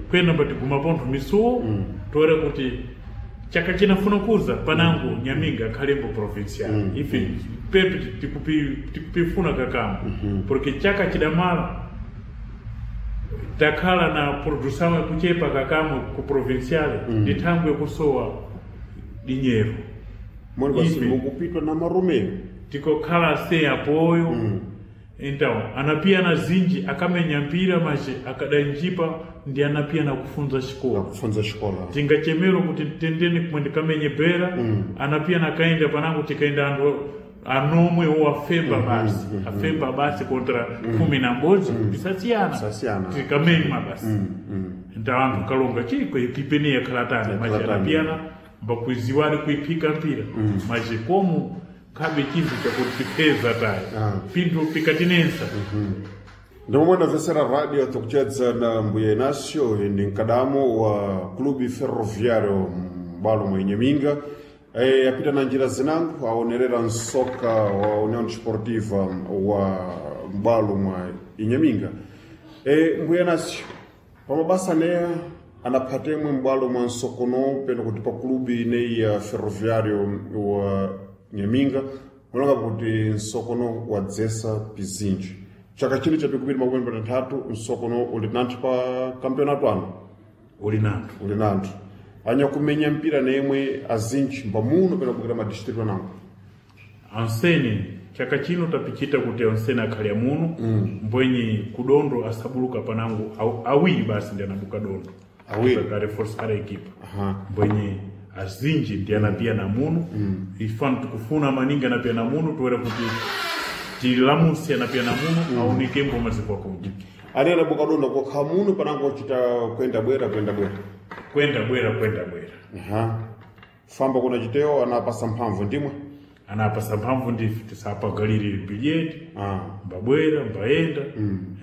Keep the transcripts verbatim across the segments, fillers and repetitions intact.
Kwena mbatiguma pontho misuwo, toera kuti chaka chinafuna kuza panango Nyaminga akhalembo provincial. Ife pepe tikupi tikupifuna kakamo, porque chaka chidamala takhala na produção yakuchepa kakamo ku provincial ndi thangwe yakusowa dinheiro. Moni basi Ife. Mukupitwa na maromeo. Tikokhala sem apoio. Então anapia na zinji akamenya mpira, mas akadanjipa ndi anapia na kufunza xikola. Kufunza xikola. Tingachemero kuti tendeni kumwe ndikamenye bera, anapia nakaenda panango tikaenda anthu anomwe wo afemba basi, afemba basi contra kumi na mbodzi, pisasiyana. Pisasiyana. Tikamenya basi. Então anthu kalonga chiko ekipeni yakhala tani, mas Yakhala tani. Anapiyana mbakuiziwali kuiphika mpira, mas como khabe chinthu chakuti tipeza tayi Ah. pinthu pikatinensa. Ndimomwe ndamvetsera radio, tikuchedza na mbuya Inácio, ndi mkadamo wa Clube Ferroviário m'balo mwa Inhaminga. e, apita na njira zinango aonerera msoka wa União Desportiva wa m'balo mwa Inhaminga. e, mbuya Inácio, pamabasa neya anaphatemwe m'bwalo mwa msokono peno kuti pa clube ineyi ya Ferroviário wa Nyaminga, mulonga kuti msokono wadzesa pizinji. Chaka chino cha pikupiri makumi patatu msokono uli nanthu pa kampeonato ano. Uli nanthu. Uli nanthu anyakumenya mpira nemwe azinji mbamuno pena kubwera madistritu anango. Ansene chaka chino tapichita kuti ansene akhale amuno, mbwenye kudondo asabuluka panango aw- awiri basi ndi anabuka dondo. Awiri. Akareforsar equipa. Aha. Mbwenye azinji ndi anapia na muno, ifano tikufuna maningi anapia na muno, toera kuti tilamusi anapia na muno aonekembo maziko akunja. Ali anabuka dondo kokha muno panango ochita kwenda bwera, kwenda bwera? Kwenda bwera, kwenda bwera. Aha, famba kuna chitewo anapasa mphamvu ndimwe. Anapasa mphamvu ndife tisapagalire bilhete. Ah. Mbabwera mbaenda.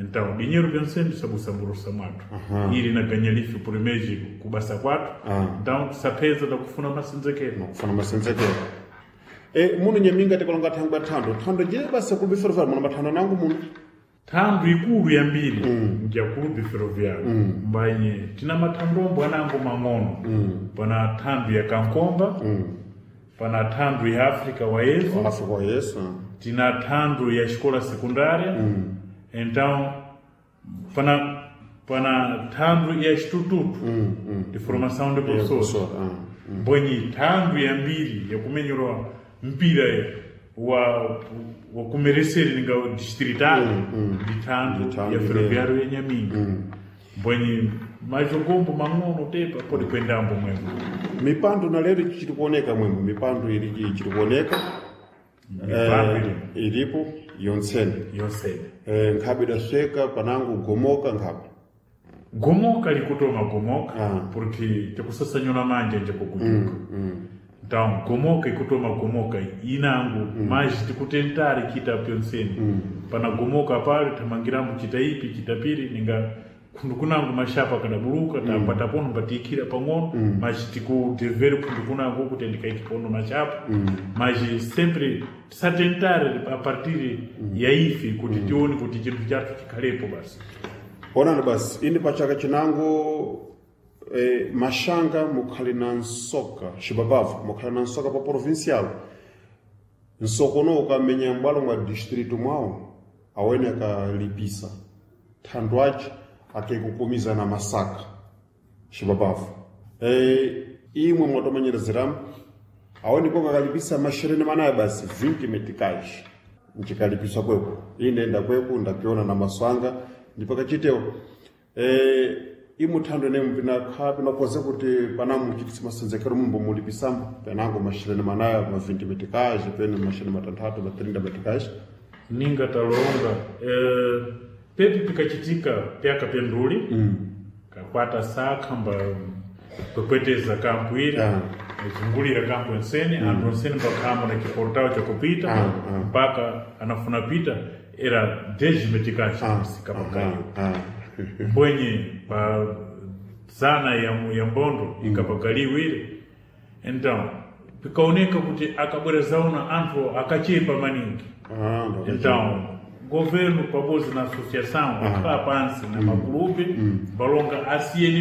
Então dinheiro pensando sabusamburusa mwathu ili naganya life por mês kubasa kwathu. Ah. Então tisapeza takufuna masenzekero. Kufana masenzekero. e, muno Nyaminga tikalonga thangwe thando thando jile basa Clube Ferroviário muno mathando nangu muno. Thandu ikulu yambiri mm. ya Clube Ferroviário, mbanye tina mathandombo anango mang'ono. Pana thandu ya Kankomba, pana thandu ya África wayezo. Afrika yesu. Tina thandu ya escola secundária. Então pana pana thandu ya instituto de formação de professores. Professor, ah. Mbwenye thandu yambiri yakumenyerwa mpira wa wa kumereseri ninga distrital ndi thandu Ndi thandu ya Ferroviário ya Nyaminga. Mbwenye majogombo mang'ono tepa pode kuendambo mwemwe. Mipando na lero ichiri kuoneka mwemwe, mipando ili ichiri kuoneka? Mipando Eh, ili ilipo yontsene. Yonsene. eh, nkhabe idasweka panango gomoka nkhabe? Gomoka likutoma gomoka, Ah. porque tikusasanyula manja nje kukujuka. Então gomoka ikutoma gomoka inango, mas tikutentare kita pyonseni. Pana gomoka pale tamangirambo chita ipi chita piri ninga khundu kunango mashapa kadabuluka, tapata pono mbatiikira pang'ono, mas tikudevere khundu kunango kuti ndikaiki pono mashapa, mas sempre tisatentare a partir ya ife kuti tione kuti chinthu chathu chikhalepo basi. Onani basi ini pachaka chinango eh, mashanga mukhali na nsoka xibabavu mukhali na nsoka pa provincial, nsokono ukamenya m'bwalo mwa distrito mwawo awene akalipisa thando ace akekukumiza na masaka xibabavu. e, imwe mwatomanyerezeramu awene koko akalipisa mashereni manayo basi vinte meticais nchikalipiswa kweko. Ine ndakweko ndapiona na maswanga ndipakachitewo. e, imuthando ine pinakha pinakoze kuti panamuchitisa masenzekero mumbo mulipisambo penango mashereni manayo ma vinte meticais pene mashereni matanthatu ma trinta meticais. Ninga talonga eh, pepi pikachitika pyaka pyenduli mm. kakwata sakha mba kwekweteza kampu ili Ah. zungulira kampu ensene, anthu ensene mbakhambo na chiportawo chakupita Ah, ah. mpaka anafuna pita era dez meticais kapakayo. Ah. Mbwenye pa zana ya, ya mbondo ikapakaliwa ile. Então pikaoneka kuti akabwera zaona anthu akachepa maningi. Ah, ndo- Então governo pabodzi na associação akhala pansi na makulupe balonga asiyeni.